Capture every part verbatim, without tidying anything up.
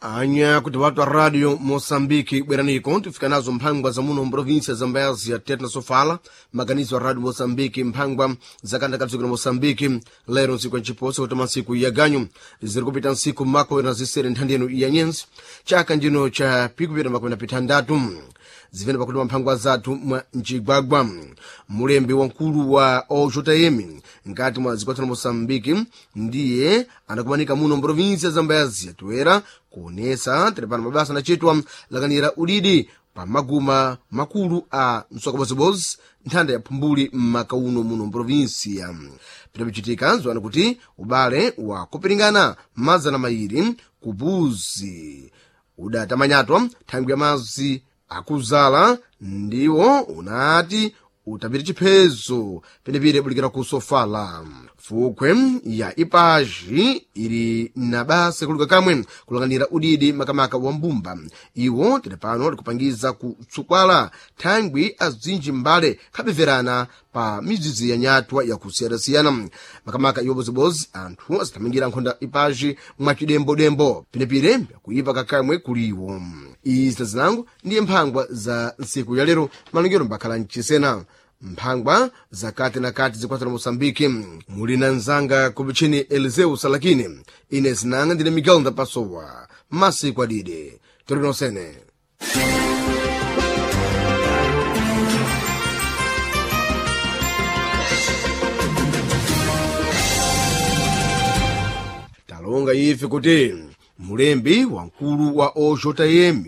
Anya kuti watu wa radio Moçambique bweraniko tifika nazo mphangwa za muno mprovinsia za Mbayazi ya Tete na Sofala, maganizo a radio Moçambique mphangwa za kanda ka dziko la Moçambique lero ntsiku ya nciposa kuti masiku ya ganyu ziri kupita ntsiku makumi na zisere nthandi yenu ya nyenzi chaka njino cha pikupita makumi na pitandatu zimene pakuti mphangwa zathu mwa mcigwagwa. Mulembi wamkulu wa O J M nkati mwa dziko la Moçambique ndiye anakumanika muno mprovinsia za Mbayazi toera kuonesa tiripano mabasa anacitwa lakanira udidi pa maguma makulu a msokabozebozi nthanda ya phumbuli m'makauno muno mprovinsia. Pitapichitika ziwani kuti ubale wa kupiringana mazana mayiri kubuzi udatamanyatwa thangwi ya mazi akuzala ndiwo unati utapita chiphezo penepene bulikira ku Sofala. Fukwe ya ipaji ili na basa kuluka kamwe kulanganira udidi makamaka wa mbumba iwo tili pano likupangiza kutsukwala thangwi azinji mbale khabeverana pa mizizi ya nyatwa yakusiyanasiyana makamaka iwo bozibozi anthu azithamangira nkhonda ipaji mwacidembodembo penepene kuipa kakamwe kuliwo. Izi tazinango ndiye mphangwa za ntsiku ya lero malongero mbakhala mchisena mphangwa zakati na kati zikwatana Moçambique. Muli na nzanga kupichini Eliseu Salakini, ine zinanga ndine Miguel Ndapasowa masiku adide tolinosene. Talonga ife kuti mulembi wamkulu wa O J M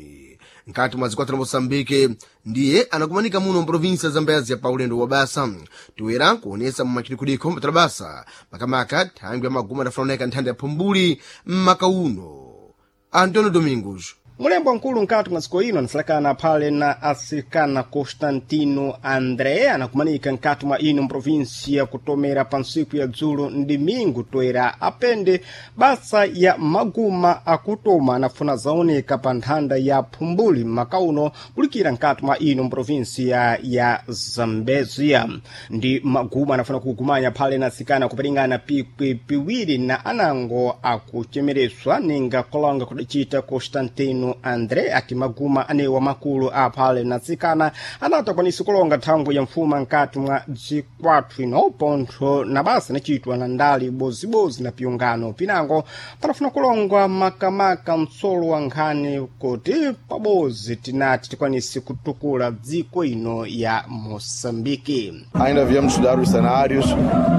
nkati mwa zikwatana Moçambique ndiye anakumanika muno mprovinsia za Mbayazi ya paulendo wa basa toera kuonesa mumachidikudiko mpatala basa makamaka thangwi ya maguma adafunaoneka nthanda ya phumbuli mmakauno. Antonio Domingos. Mulembo nkulu nkati mwa dziko ino anasalakana phale na asikana Constantino André anakumanika nkati mwa ino mprovinsia kutomera pa ntsiku ya dzulo ndimingu toera apende basa ya maguma akutoma anafuna zaoneka pa nthanda ya phumbuli makauno kulikira nkati mwa ino mprovinsia ya Zambezia. Ndi maguma anafuna kugumanya phale na asikana kuperingana pikwi piwiri na anango akuchemereswa ninga kolonga kudacita Constantino André ati maguma anewa makulu aphale natsikana anati akwanise kulonga thangwi ya mfuma nkati mwa dzikwathu ino pontho na basa inacitwa na ndali bozibozi na piungano pinango panafuna kulongwa makamaka mtsolo wa nkhani kuti pabozi tinati tikwanise kutukula dziko ino ya Moçambique. Ainda viemos estudar os cenários,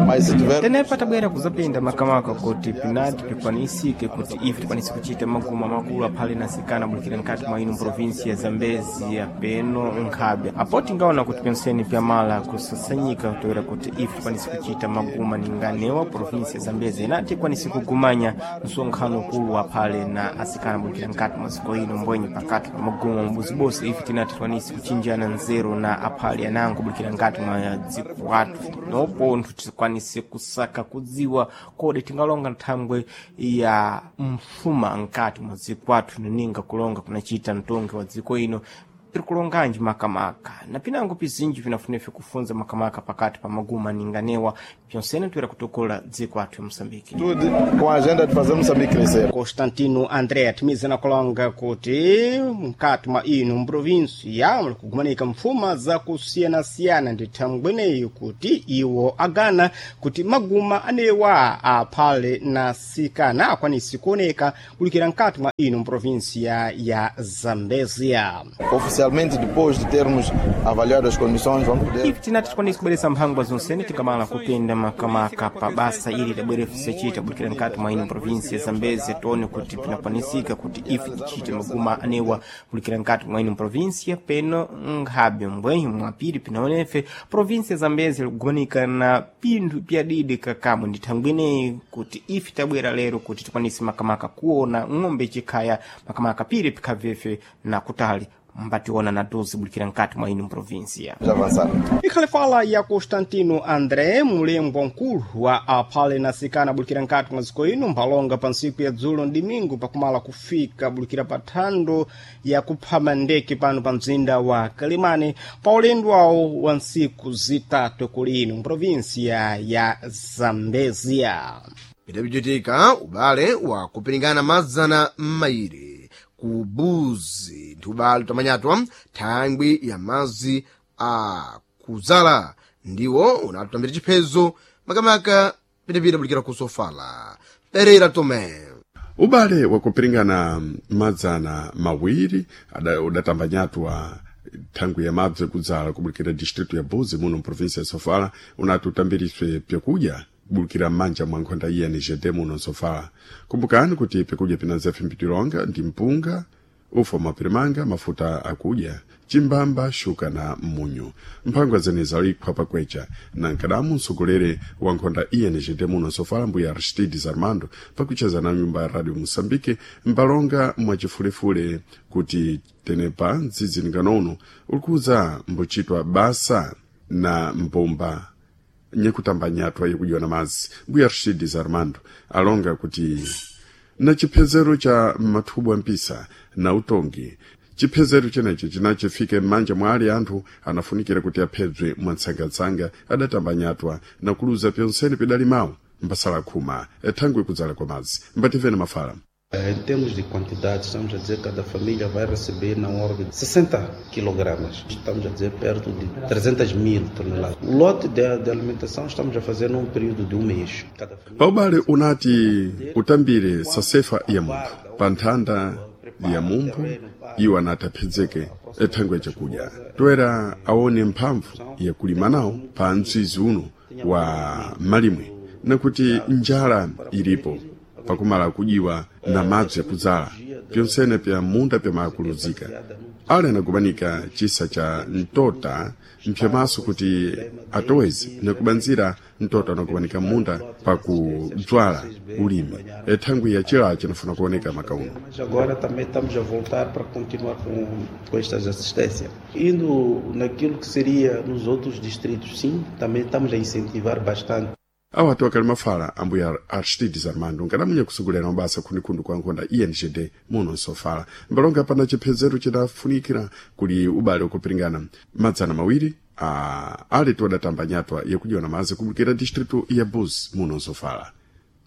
mas se tiver tenepa tabwera kuzapinda makamaka kuti pinati pikwanisike kuti ife tikwanise kuchita maguma makulu aphale nasikana bulikira nkati mwa ino provinsi ya Zambezia peno nkhabe apo tingaona kuti penseni pyamala kusasanyika toera kuti ife tikwanise kuchita maguma ninganewa provinsi ya Zambezia inati ikwanise kugumanya msonkhano ukulu aphale na asikana bulikira nkati mwa ziko ino mbwenye pakati pa maguma mabozibozi ife tinati tikwanise kuchinjana nzeru na aphale anango bulikira nkati mwa dziko wathu nopo nthu tikwanise kusaka kudziwa kodi tingalonga nthangwe ya mfuma nkati mwa dziko athu nininga kulonga kunachita mtongi wa dziko ino tiri kulonganji makamaka na pinango pizinji pinafunefe kufunza makamaka pakati pa maguma ninganewa pyonsene toera kutokola dziko athu ya Moçambique. Tudo com a agenda de fazer Moçambique crescer. Constantino André atimiza na kulonga kuti mkati mwa ino mprovinsia muli kugumanika mfuma zakusiyanasiyana ndi thangweneyi kuti iwo agana kuti maguma anewa aphale na sikana akwanise kuoneka kulikira mkati mwa ino mprovinsia ya Zambezia. Oficialmente, depois de termos avaliado as condições, vamos poder ife tinati tikwanise kubweresa mphangwa zonsene tikamala kupenda makamaka pa basa ili lidabwerefisacita bulikira nkati mwa ino provinsi ya Zambezia tione kuti pinakwanisika kuti ife tichite maguma anewa bulikira nkati mwa ino provinsia peno nkhabe mbwenye mwapiri pinaonefe provinsi ya Zambezia likugumanika na pinthu pyadidi kakamwe ndi thangweneyi kuti ife tabwera lero kuti tikwanise makamaka kuona ng'ombe chikhaya makamaka piri pikhavefe na kutali mbationa na dozi bulikira nkati mwa ino provinsia. Avançar. Ikhale fala ya Constantino André, mulembwa nkulu wa aphale na sikana bulikira nkati mwa dziko ino mphalonga pa ntsiku ya dzulo ndimingu pakumala kufika bulikira pa thando ya kuphama ndeke pano pa mzinda wa Kalimane pa ulendo wawo wa ntsiku zitatu kuli ino mprovinsia ya Zambezia. Pitapichitika ubale wa kupiringana mazana m'mayiri ku Buzi ndi ubale utamanyatwa thangwi ya mazi a kuzala ndiwo unatutambira chiphezo makamaka pinapita bulikira ku Sofala. Pereira Tomé. Ubale wakupiringana madzana mawiri ada- udatambanyatwa thangwi ya mabze kudzala kubulikira distritu ya Buzi muno mprovinsia ya Sofala unati utambiriswe pyakudya kubulikira m'manja mwa nkhonda iya ni G D muno Sofala. Kumbukani kuti pyakudya pinanza pimpitilonga ndi mpunga, ufa mapirimanga, mafuta akudya, chimbamba, shuka na munyu. Mphangwa zenezi alikhwa pakwecha na nkadamu msogolere wa nkhonda I N G D muno Sofala, mbuya Aristides Armando, pakucheza na nyumba ya Radio Moçambique mbalonga mwachifulefule kuti tenepa mdzidzi nganono ulikuza mbuchitwa basa na mbomba nyekutambanyatwa yekudyiwa na madzi. Mbuya Aristides Armando alonga kuti na chiphezero cha mathubu ampisa na utongi, chiphezero chenechi chinachifike m'manja mwa ali anthu anafunikira kuti aphedzwe mwatsangatsanga adatambanyatwa na kuluza pyonsene pidali mawu mbasala khuma thangwi kudzala kwa madzi. Mbativene mafala. Em termos de quantidade, estamos a dizer que cada família vai receber na ordem de sessenta quilogramas. Estamos a dizer perto de trezentas mil toneladas. O lote de, de alimentação estamos a fazer num período de um mês. Cada família Paubale unati utambire sasefa ya munthu pa nthanda ya munthu iwo anati aphedzeke thangwi chakudya toera aone mphamvu yakulima nawo pa mtsizi uno wa malimwe nakuti njala ilipo pakumala kudyiwa na madzi yakudzala pyonsene pya munda pyamakuluzika. Ali anagumanika chisa cha mtota mpyamaso kuti atoweze nakubanzira mtota anagumanika munda pakudzwala ulimi ethangwi ya chilacho chinafuna kuoneka makauno. Mas agora também estamos a voltar para continuar com, com estas assistências. Indo naquilo que seria nos outros distritos, sim, também estamos a incentivar bastante. Awo ati wakali mafala ambuya Aristides Armando nkadamunya kusogolera mabasa khundikhundu kwa nkhonda I N G D muno Nsofala mbalonga pana chiphezero chidafunikira kuli ubale ukupiringana madzana mawiri a ali todatambanyatwa yakudywa na madzi kubulukira distritu ya Buz muno Nsofala.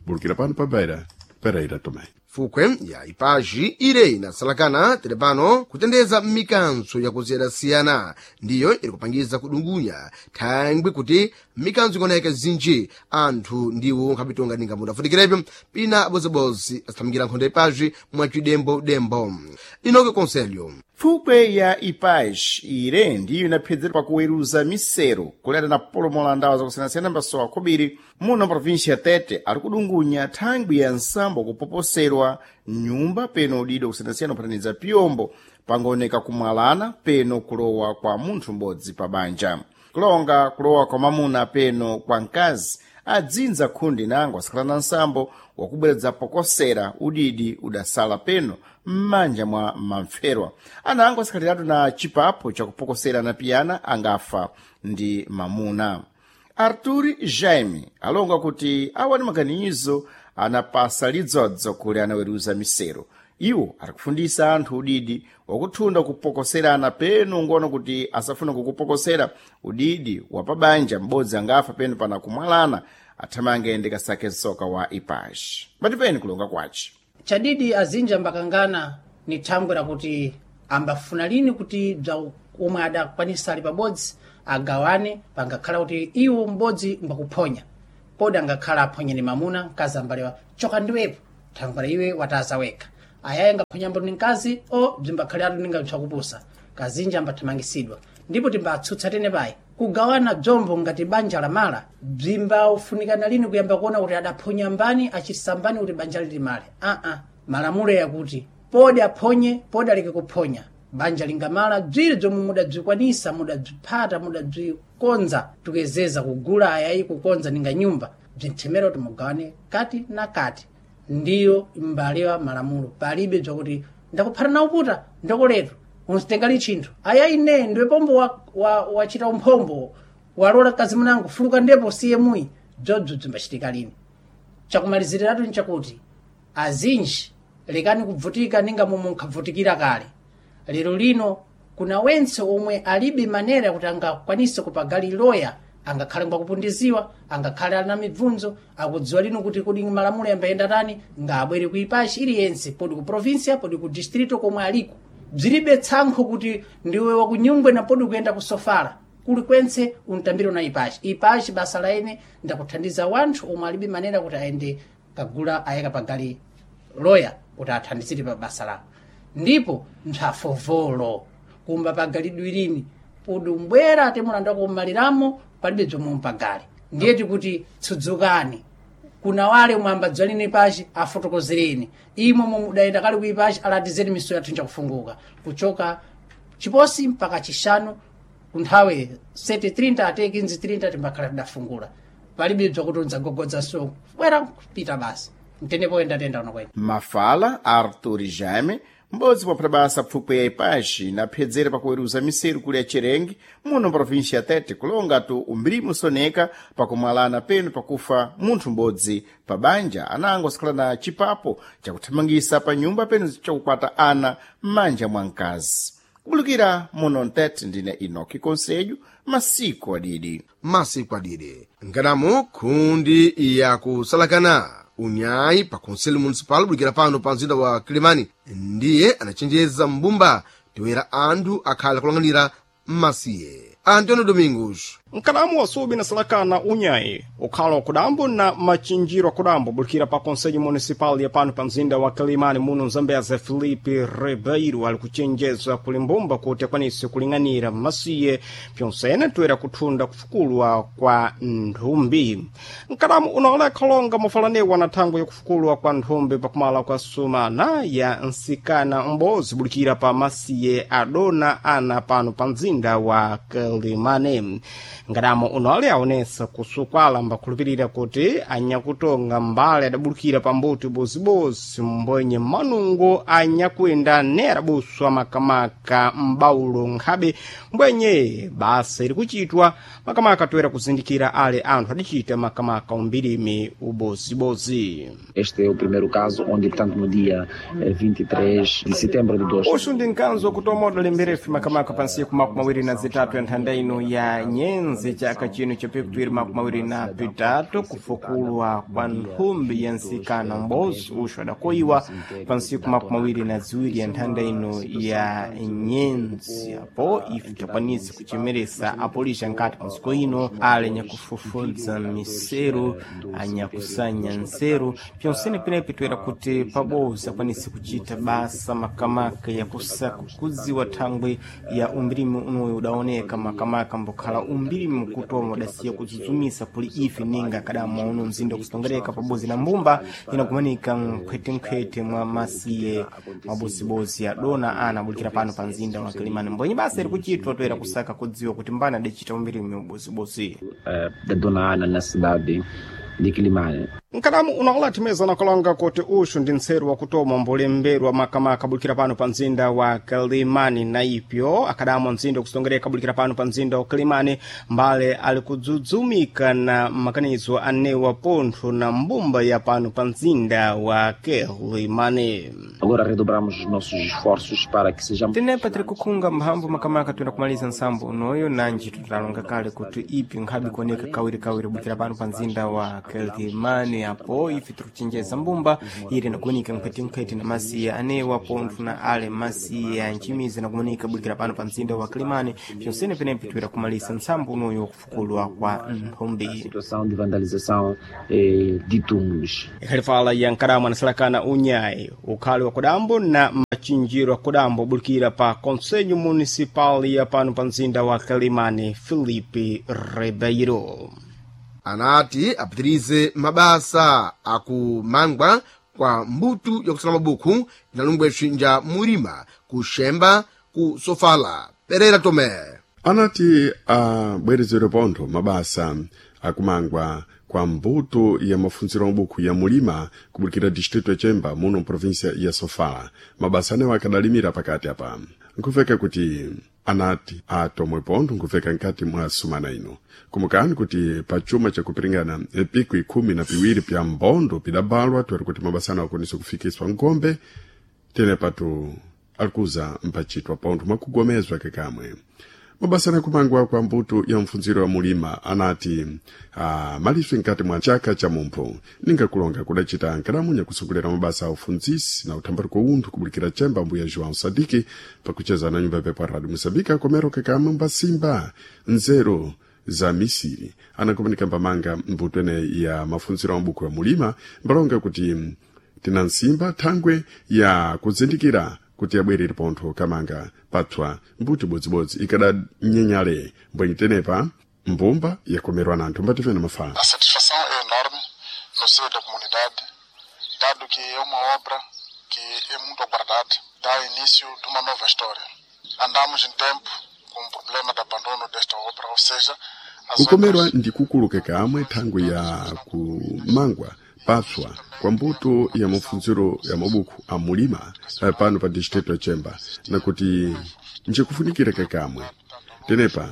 Bulukira pano pa Beira, Pereira Tomé. Fukwe ya ipaji ire inasalakana tere pano kutendeza mikanso yakusiyana-siyana ndiyo iri kupangiza kudungunya thangwi kuti mikanso ikuoneka zinji anthu ndiwo nkhapitonga ninga mudafunikirepyo pina bozibozi asithamangira nkhondo ipaji mwacidembo-dembo. Inoke Conselho. Fukwe ya Ipaz ire ndiyo inaphedzera pakuweruza misero kuleta na polomola ndawa zakusiyanasiyana mbasowa khobiri muno província ya Tete ari kudungunya thangwi ya nsambo kupoposerwa nyumba peno udido kusiyanasiyana kuphataniza piyombo pangaoneka kumwalana peno kulowa kwa munthu m'bodzi pa banja, kulonga kulowa kwa mamuna peno kwa mkazi adzinza khundi nango asakhala na nsambo wakubweredza pokosera udidi udasala peno m'manja mwa mamferwa anango asakhaliratu na chipapo chakupokosera na piyana angafa ndi mamuna. Artur Jaime alonga kuti awa ni maganizo anapasa lidzodzo kuli anaweruza misero. Iwo arikufundisa anthu udidi wakuthunda kupokoserana peno ngono kuti asafuna kukupokosera udidi wa pabanja m'bodzi angafa peno pana kumwalana athamange ndi kasake msoka wa Ipaji patipeni kulonga kwace. Chadidi azinji ambakangana ni thangwi lakuti ambafuna lini kuti bza omwe adakwanisa ali pabodzi agawane, pangakhala kuti iwo m'bodzi mbakuphonya podi angakhala aphonye ni mamuna, mkazi ambalewa choka ndiwepo thangwi la iwe wataza wekha ayayi angaphonyambo ni mkazi o bzimbakhaliratu ninga bzakupusa kazinji ambathamangisidwa ndipo timbatsutsa tene payi kugawana bzombo ngati banja lamala bzimbafunikana lini kuyamba kuona kuti adaphonya mbani achitisa mbani kuti banja lilimale aa malamulo yakuti podi aphonye podi aleke kuphonya banja lingamala bziri bzomwe mudabzikwanisa mudabziphata mudabzikonza tukezeza kugula ayayi kukonza ninga nyumba bzinthemera kuti mugawane kati na kati ndiyo mbalewa malamulo palibe bzakuti ndakuphata na uputa ndakuletu unsitengali chinthu ayayi ne ndiwe pombo wachita wa, wa umphombo walola kazi munango fuluka ndipo siye muyi bzobzo bzimbachitika lini. Chakumaliziratu nchakuti azinji lekani kubvutika ninga momwe nkhavutikira kale. Lero lino kuna wentse omwe alibe manera kuti angakwanise kupagali loya Angakhale ngwakupundiziwa, angakhale ali na mibvunzo, akudziwa lino kuti kodi malamulo yambayenda tani, ngabwere ku ipachi iliyense, podi ku provincia, podi ku distrito komwe aliko. Bzilibe tsankho kuti ndiwe wakunyungwe na podi kuyenda ku Sofala. Kulikwense untambire na ipachi. Ipachi basa la ine ndakuthandiza wanthu omwe alibe manera kuti ayende kagula ayeka pagali loya kuti athandizire pa basa lawo. Ndipo nthafovolo kumba pagalidwe lini podi umbwera ate mulandu wakummaliramo palibe bzomwe mpagali. Ndiye tikuti tsudzukani kuna wale mwamba dzalini pachi afotokozereni imwe mudayenda kale kuipachi alatizeni miso yathu njakufunguka kuchoka chiposi mpaka chishanu kunthawi sete thirty ate quinze thirty timbakhala tidafungula palibe bzakuti udzagogodza so bwera kupita basi mtenepo endatenda uno kwene. Mafala Arthur Jaime, m'bodzi mwa basa pfukwe ya ipaxi naphedzera pakuweruza miseru kuli ya Cherenge muno província ya Tete kulonga tu umbirimu soneka pakumwalana penu pakufa munthu m'bodzi pa banja anango sikhala na chipapo chakuthamangisa pa nyumba penu chakukwata ana m'manja mwa mkazi. Kubulukira muno Mtete, ndine Enoki Conselho, masiku adidi. Masiku adidi nganamo khundi yakusalakana unyayi pa conselho municipal bulikira pano pa mzinda wa Kilimani ndiye anachenjeza mbumba toyera anthu akhala kulang'anira mmasiye. Antonio Domingos. Nkalamu wasubi na salakana unyayi ukhala wakudambo na machinjiro akudambo bulikira pa conselho municipal ya pano pa mzinda wa Kilimani muno Mzambeza Felipe Ribeiro ali kuchenjeza kuli mbumba kuti akwanise kuling'anira masiye pyonsene toera kuthunda kufukulwa kwa nthumbi. Nkalamu unaola kholonga mofalanewa na thangwe yakufukulwa kwa nthumbi pakumala kwa sumana ya nsikana m'bodzi bulikira pa masiye adona ana pano pa mzinda wa Kilimani. Ngadamo unole aonesa kusukwala mbakhulupirira kuti anyakutonga mbale adabulukira pambuti bozibozi mbwenye manungo anyakuenda ne adabuswa makamaka m'baulo nkhabe mbwenye basa iri kuchitwa makamaka toera kuzindikira ale anthu adicita makamaka umbirimi ubozibozi. Este é o primeiro caso onde, portanto, no dia eh, vinte e três de setembro de dois Uxu ndi mkanzo wakutomoda lemberefu makamaka pa ntsiku makumi awiri na zitatu ya nthanda ino ya nyenze chaka chino chapikutuwiri makumi awiri na pitatu kufukulwa kwa nthumbi ya nsikana m'bodzi uxu adakoyiwa pa ntsiku makumi awiri na ziwiri ya nthanda ino ya nyenze. Apo ife takwanisa kuchemeresa apolisi ankati pa ntsiku ino ali anyakufufudza miseru anyakusanya nseru pyonsene penepi toera kuti pabodzi akwanise kuchita basa makamaka yakusaka kudziwa thangwe ya umbirimi unoyo udaoneka makamaka mbokhala umbirimi kutoma udasiya kudzudzumisa kuli ife ninga kadama uno mzinda kusitongereka pabodzi na mbumba inakumanika mkhwetenkhwete mwa masiye mabozibozi adona ana abulikira pano pa mzinda wa Kilimani mbwenye basa iri kuchitwa toera kusaka kudziwa kuti mbani adacita umbirimi ubozibozi. eh, da Dona Ana na cidade de Quilimane. Nkalamu unaola na kalonga kuti uxu ndi ntseru wakutoma mbolemberwa makamaka bulikira pano pa mzinda wa Kilimani na ipyo akadamwa mzinda wakusongereka bulikira pano pa mzinda wa Kilimani mbale ali kudzudzumika na makanizo anewa pontho na mbumba ya pano pa mzinda wa Kilimani. Agora redobramos os nossos esforços para que sejamos tenepa tiri kukhunga mphamvu makamaka toera kumaliza nsambo unoyo nanji tutalonga kale kuti ipi nkhabe kuoneka kawirikawiri bukira pano pa mzinda wa Kilimani. Apo ife tiri kuchenjeza mbumba ili nakumanika mkhwetenkhwete na masiya anewa pontho na ale masiya nchimizi nakumanika bulikira pano pa mzinda wa Kilimani pyonsene penepi toera kumalisa nsambo unoyo kufukulwa kwa nthumbi. situação de vandalização eh, de túmulos. Ikhalifala ya nkalamu anasalakana unyayi ukhali wa kudambo na machinjiro akudambo bulikira pa conselho municipal ya pano pa mzinda wa Kilimani Felipe Ribeiro. Anati apitirize mabasa akumangwa kwa mbuto yakusala mabuku inalungweswi nja mulima kuxemba ku Sofala. Pereira Tomé. Anati abwerezedwe pontho mabasa akumangwa kwa mbuto ya mafunziro mabuku ya mulima kubulikira distrito ya Chemba muno província ya Sofala. Mabasa anewo akadalimira pakati apa nkuveka kuti anati atomwe pontho nkuveka nkati mwa sumana ino. Kumukani kuti pa chuma chakupiringana epiku ikhumi na piwiri pya mbondo pidabalwa toera kuti mabasa anewo akwanise kufikiswa nkombe tene patu alikuza mpachitwa pontho mwakugomezwa kekamwe. Mabasa anakumangwa kwa mbuto ya mfunziro wa mulima anati ah, maliswe nkati mwa chaka cha mumpho ningakulonga kudacita nkalamunya kusogolera mabasa a ufunzisi na uthambaliko unthu kubulikira chemba mbuya João Sadiki pakucheza na nyumba pepa Radio Mosambika komero kakamwe mbasimba nzeru za misiri anakumanika mbamanga mbuto ene ya mafunziro a mabuku ya mulima mbalonga kuti tina nsimba thangwe ya kuzindikira kuti abwerere pontho kamanga patswa mbuto bodzibodzi ikadanyenyale mbwenyi tenepa mbumba yakomerwa na anthu mbativene mafala. A satisfação é enorme no seio da comunidade, dado que é uma obra que é muito aguardada, dá início de uma nova história. Andamos em tempo com o problema de abandono desta obra, ou seja, as Kukomerwa obras ndi kukuluka kamwe thangwe ya kumangwa patswa kwa mbuto ya mafunziro ya mabuku a mulima eh, pano pa distrito ya Chemba nakuti njikufunikira kakamwe tenepa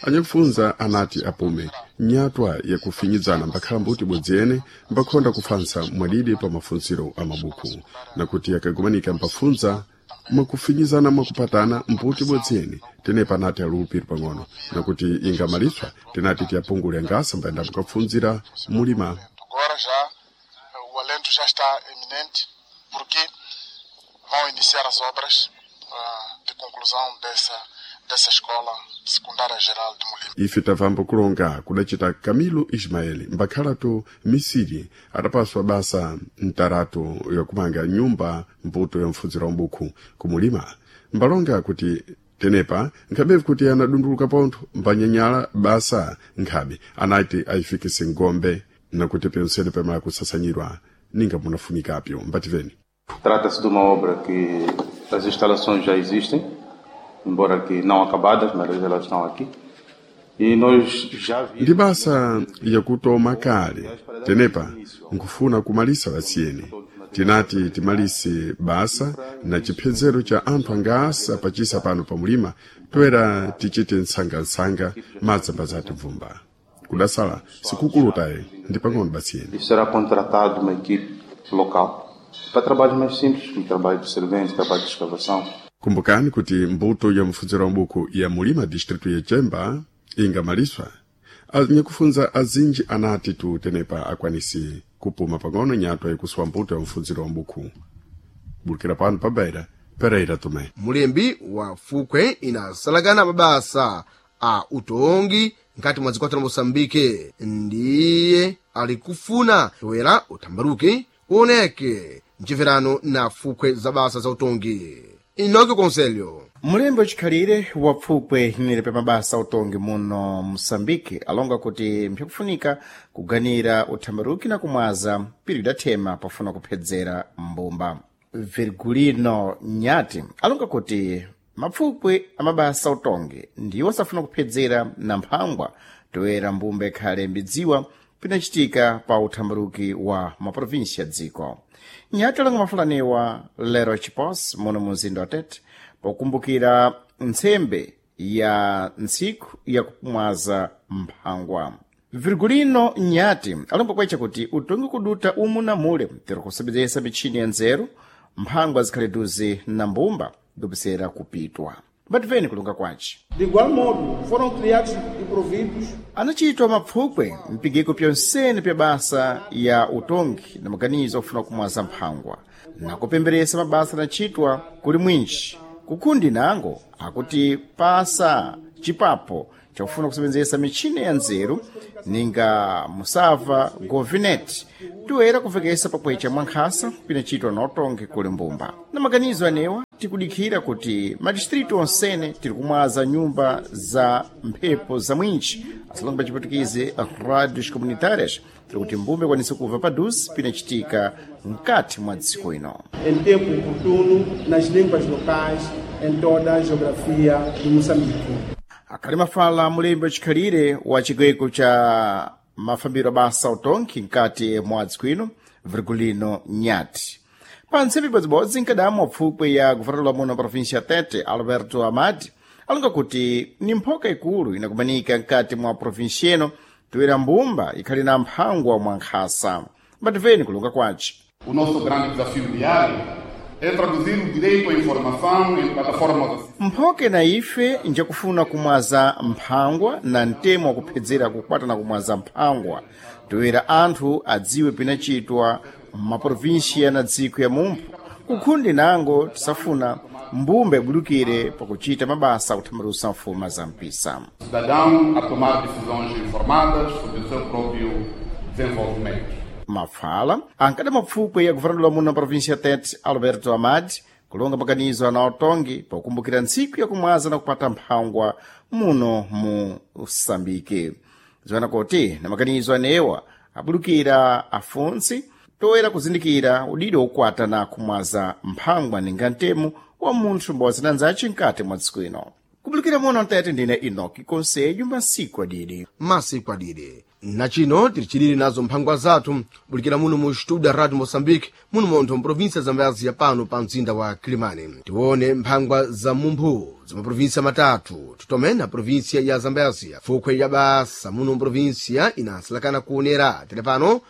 anyakufunza anati apume nyatwa yakufinyidzana mbakhala mbuti bodzi ene mbakhonda kufansa mwadidi pa mafunziro a mabuku nakuti akagumanika mpafunza mwakufinyizana mwakupatana mbuti bodzi ene tenepa anati alupiri pang'ono nakuti ingamaliswa tinati tiyapungule ngasa mbayenda mukapfunzira mulima. Agora já eh, o alento já está iminente, porque vão iniciar as obras ah, de conclusão dessa, dessa escola secundária geral de Molima. Ife tavambo kulonga kudacita Camilo Ismaeli mbakhalatu misiri adapaswa basa mtaratu yakumanga nyumba mbuto ya mfunziro wa mbuku kumulima mbalonga kuti tenepa nkhabevu kuti anadunduluka pontho mbanyanyala basa nkhabe anati ayifikise ngombe nakuti pensene pamala kusasanyirwa ninga munafunikapyo mbativeni. Trata-se de uma obra que as instalações já existem, embora que não acabadas, mas elas estão aqui. E nós já Ndi vimos basa yakutoma kale tenepa nkufuna kumalisa vasiyeni tinati timalise basa na chiphezero cha anthu angasa pachisa pano pamulima toera tichite nsangansanga madzamba zatibvumba kudasala sikukulutaye ndi pang'ono basiyeni. e será contratado uma equipe local para trabalhos mais simples, como trabalho de servente, trabalho de escavação. Kumbukani kuti mbuto ya mfunziro wa mbuku ya mulima distritu ya Chemba ingamaliswa anyakufunza azinji anati tu tenepa akwanisi kupuma pang'ono nyatwa yakusuwa mbuto ya mfunziro wa mbuku bulikira pano pabaira Pereira Tomé. Mulembi wa fukwe inasalakana mabasa a utongi nkati mwa dziko la Moçambique ndiye alikufuna toera utambaruke uoneke mchimverano na fukwe za basa za utongi. Inoki Conselho. Mulembe wachikhalire wa pfukwe inene pa mabasa utongi muno Moçambique alonga kuti mpyakufunika kuganira uthambaruki na kumwaza piri idathema pofuna kuphedzera mbumba. Virgulino Nyati alonga kuti mapfukwe amabasa utongi ndiwo asafuna kuphedzera na mphangwa toera mbumba ikhale mbidziwa pinachitika pa uthambaruki wa maprovinsi ya dziko. Nyati alonga mafulaniwa lero chipos muno mu mzinda wa Tete pokumbukira ntsembe ya ntsiku ya kumwaza mphangwa. Virgulino Nyati alonga kwecha kuti utongi kuduta umu na mule tero kusebedzesa mitchini ya nzeru mphangwa zikhale duze na mbumba dopesera kupitwa. Mbativeni kulunga kwace. De igual modo, foram criados e providos Anachitwa mapfukwe mpigiko pyonsene pya basa ya utongi na maganizo ofuna kumwaza mphangwa na kupemberesa mabasa anachitwa kuli mwinji kukhundi nango akuti pasa chipapo chakufuna kusebenzesa mitchini ya nzeru ninga musava govinet toera kuvekesa pakwecha mwankhasa pinachitwa na utongi kuli mbumba na maganizo anewa tikudikhira kuti madistritu onsene tiri kumwaza nyumba za mphepo za mwinji asalonga pa chiputukizi radios comunitárias tiri kuti mbumba ikwanise kuva paduze pinachitika mkati mwa dziko ino. Em tempo oportuno nas línguas locais em toda a geografia de Moçambique. Akhali mafala mulembe wachikhalire wa chigweko cha mafambiro abasa utongi mkati mwa dziko ino Virgulino Nyati pa ntsembe ibodzibodzi nkadamu wapfukwe ya guvernador muno província ya Tete Alberto Amadi alonga kuti ni mphoka ikulu inakumanika mkati mwa província ino toera mbumba ikhali na mphangwa mwa nkhasa mbativeni kulunga kwace. O nosso grande desafio diário É traduzir o direito à informação em plataformas Mphoke na ife njakufuna kumwaza mphangwa na mtemo wakuphedzera kukwatana kumwaza mphangwa toera anthu adziwe pinachitwa m'maprovinsia na dziko ya mumpho kukhundi nango tisafuna mbumba ibulukire pakuchita mabasa akuthambalusa mfuma za mpisa. Cidadão a tomar decisões informadas sobre o seu próprio desenvolvimento. Mafala ankada mapfukwe ya governador muno na província Tete Alberto Amad kulonga maganizo ana otongi pokumbukira ntsiku yakumwaza na kupata mphangwa muno mu Sambike. Ziwana kuti na maganizo anewa abulukira afuntsi toera kuzindikira udido wokwata na kumwaza mphangwa ninga ntemo wa munthu mbowazinanzace mkati mwa tsiku ino. Kubulukira muno Tete ndine Enoki Konselho masiku adidi. Masiku adidi na chino tili chilili nazo mphangwa zathu bulikira muno mu studio Radio Moçambique muno montho mprovinsia Zambezia pano pa mzinda wa Kilimani. Tione mphangwa za mumphu za maprovinsia matatu titome na provinsia ya Zambezia fukhwe ya basa muno mprovinsia inasalakana kuonera tili pano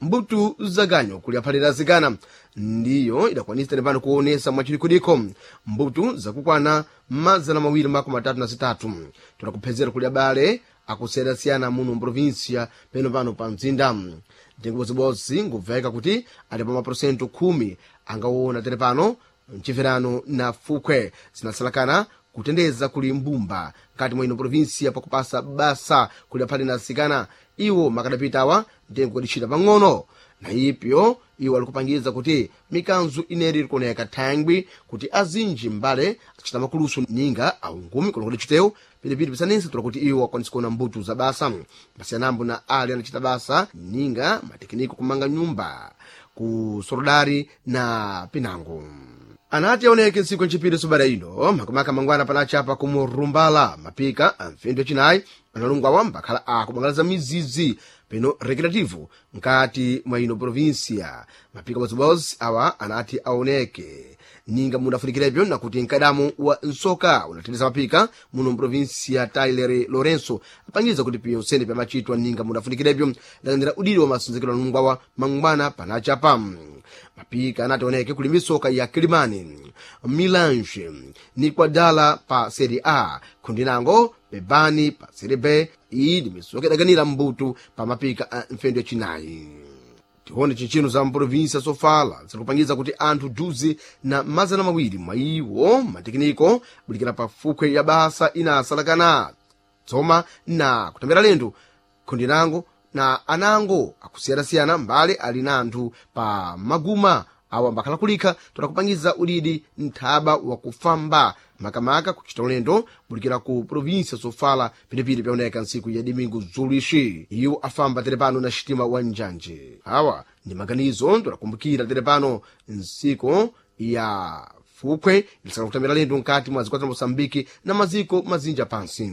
mbutu zaganyo kuliyaphalira zikana ndiyo idakwanisa tili pano kuonesa mwachidikudiko mbutu zakukwana mazana mawiri makumi atatu na zitatu tunakuphezera kuli abale akusiyana-siyana muno mprovinsia peno pano pa mzinda. Mtengo bodzibodzi ngubveka kuti ali pa maporosento khumi angaona tere pano mchimverano na fukhwe zinasalakana kutendeza kuli mbumba nkati mwa ino provinsia pakupasa basa kuli aphale na asikana iwo makadapitawa mtengo kudicita pang'ono na ipyo iwo alikupangiza kuti mikanzu ineri ilikoneka thangwi kuti azinji mbale acita makulusu ninga aungumi kono kuti chitewu pilipili pisanense tula kuti iwo akwanisa kuona mbutu za basa pasiyanambo na ali anacita basa ninga matekiniko kumanga nyumba ku sorodari na pinango. Anati aoneke ntsiku ncipiri subada ino makamaka mangwana panachapa kumurumbala mapika amfindu acinayi analungwawa mbakhala akubangalaza mizizi peno recreativo nkati mwa ino provinsia. Mapika bodzibodzi awa anati aoneke ninga mudafunikirebyo nakuti mkadamu wa nsoka unathandiza mapika muno mprovinsia Tyler Lorenzo apangiza kuti piyonsene pyamachitwa ninga mudafunikirebyo dalandira udidi wa masonzekero anungwawa mangwana panachapa. Mapika anati aoneke kuli misoka ya Kilimani Milange ni kwadala pa Serie A khundi nango Bebani pa Serie B. Iyi ndi misoka idaganira mbutu pa mapika a mfendo yacinayi. Tione chinchino za mprovinsia Sofala zikupangiza kuti anthu duzi na mazana mawiri mwa iwo matekiniko bulikira pa fukhwe ya basa inasalakana tsoma na kutambira lendo khundi nango na anango akusiyana-siyana mbale ali na anthu pa maguma awa mbakhala kulikha todakupangiza udidi nthaba wakufamba makamaka kuchita ulendo bulikira ku provinsia Sofala pinepini pyaoneka ntsiku ya domingo zulixi iwo afamba tere pano na xitima wa njanje. Awa ndi maganizo todakumbukira tere pano ntsiku ya fukhwe ilisaka kutambira lendo nkati mwa zikwata za Moçambique na maziko mazinja pansi.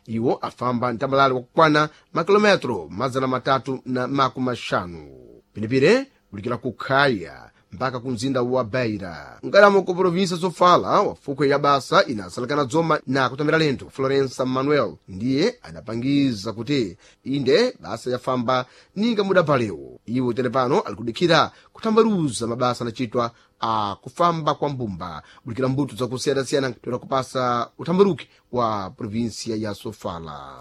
Iwo afamba mtambalale wakukwana makilometro mazana matatu na makumi maxanu pinepine kulikira ku Khaya mpaka ku mzinda wa Beira nkalamo ku provinsia Sofala wafukhwe ya basa inasalakana dzoma na kutambira lento Florença Manuel ndiye adapangiza kuti inde basa yafamba ninga mudapalewo. Iwo tere pano alikudikhira kutambaluza mabasa anachitwa a kufamba kwa mbumba bulikira mbuto zakusiyana-siyana toera kupasa utambaluki wa provinsia ya Sofala.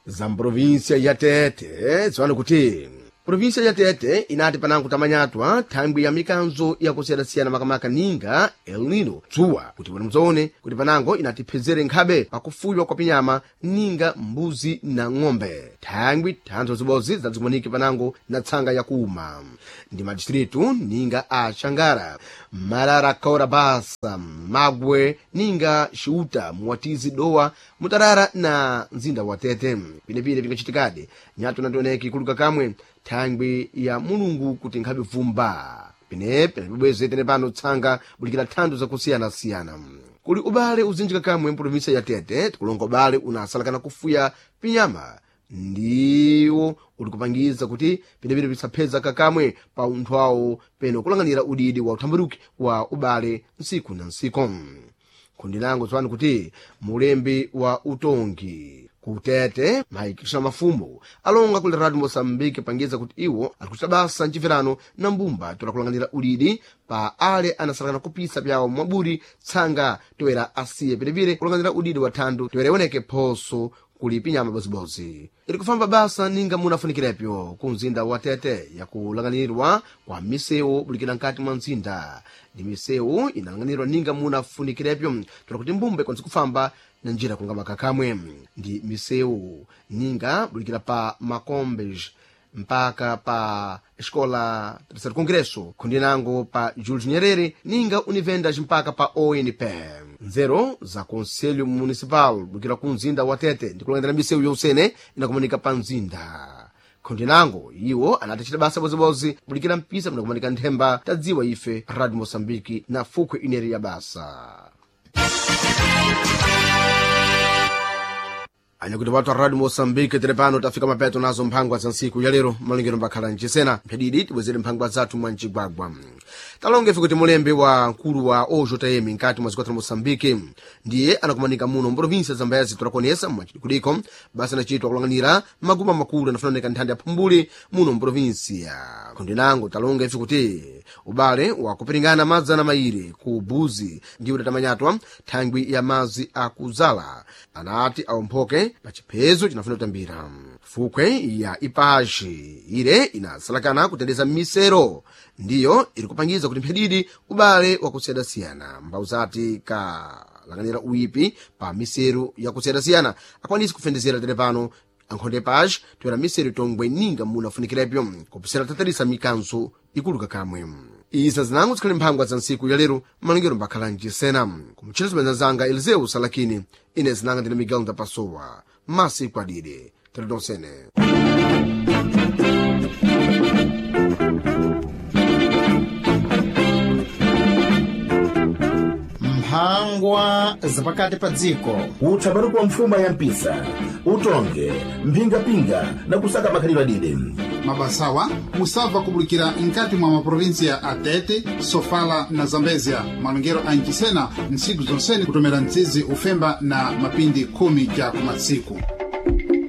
Za mprovinsia ya Tete ziwani kuti provinsia ya Tete inati panango tamanyatwa thangwi ya mikanzo yakusiyana-siyana makamaka ninga El Nino dzuwa kuti bwino mudzaone kuti panango inati phezere nkhabe pakufuywa kwa pinyama ninga mbuzi na ng'ombe thangwi thanzo zibodzi zidazikumanike panango na tsanga yakuuma ndi madistritu ninga a Xangara Marara Kaura Basa Magwe ninga Xiuta Muwatizi Dowa Mutarara na mzinda wa Tete. Pinepine pingachitikadi nyatu nationeki kuluka kamwe thangwi ya mulungu kuti nkhabe vumba pinepe bweze tene pano tsanga bulikira thando zakusiyana-siyana kuli ubale uzinjika kamwe mprovinsia ya Tete tikulonga ubale unasalakana kufuya pinyama ndiwo ulikupangiza kuti pinepine pisapheza kakamwe pa unthu awo peno kulanganira udidi wa uthambaluki wa ubale ntsiku na ntsiku. Khundi lango tsopano kuti mulembi wa utongi Kutete maikisha mafumu alonga kuli Radio Moçambique pangiza kuti iwo alikuchita basa mchimverano na mbumba tola kulanganira ulidi pa ale anasalakana kupisa pyawo mwaburi tsanga toera asiye pilipili kulanganira udidi wa thandu toera ioneke phoso kuli pinyama bozibozi ili kufamba basa ninga munafunikilepyo ku mzinda wa Tete yakulanganirwa kwa misewu bulikira nkati mwa mzinda ndi misewu inalanganirwa ninga munafunikilepyo tola kuti mbumba ikwanise kufamba na njira kungama kakamwe ndi misewu ninga bulikira pa makombes mpaka pa escola Terceiro Congresso kundinango pa Julius Nyerere ninga univendas mpaka pa O N P nzero za Conselho Municipal bukira ku mzinda wa Tete ndikulangira misewu yonsene inakumanika pa mzinda kundinango iwo anatachita basa bozibozi bulikira mpisa munakumanika nthemba tadziwa ife Radio Moçambique na fukhwe ineri ya basa. Anyakuti watu wa Radio Moçambique tere pano tafika mapeto nazo mphangwa za ntsiku ya lero malingiro mbakhala mchisena mphedidi tibwezere mphangwa zathu mwa mcigwagwa talonge ife kuti mulembe wa mkulu wa O J M nkati mwa ziko la Moçambique ndiye anakumanika muno mprovinsia Zambezi tolakonesa mwachikuliko basa anachitwa kulanganira maguma makulu anafunanika nthanda ya phumbuli muno mprovinsia kundinango talonga ife kuti ubale wakupiringana madzana mairi ku Buzi ndiwo datamanyatwa thangwi ya mazi akuzala anati awomphoke pa chiphezo chinafuna kutambira fukhwe ya ipashi ile inasalakana kutendeza misero ndiyo iri kupangiza kuti mphedidi ubale wakusiyana-siyana mbau zati kalanganira uipi pa misero yakusiyana-siyana akwanisi kufendezera tere pano ankhonde pashi toera misero itongwe ninga munafunikirepyo kupisira tatarisa mikanzo ikuluka kamwe iza zinango zikhali mphangwa za ntsiku ya lero malingiro mbakhala mchisena kumutchera zibwenza zanga Eliseu Salakini ine zinanga ndine Miguel Ndapasowa masiku adide teredonsene. Mphangwa zapakati pa dziko. Utsabaruku wa mfuma ya mpisa utonge mphingapinga na kusaka makhalidwe adide. Mabasawa musabva kubulikira nkati mwa maprovinsia a Tete, Sofala na Zambezia. Malongero a ncisena ntsiku zonsene kutomera mtsizi ufemba na mapindi khumi ja kumatsiku.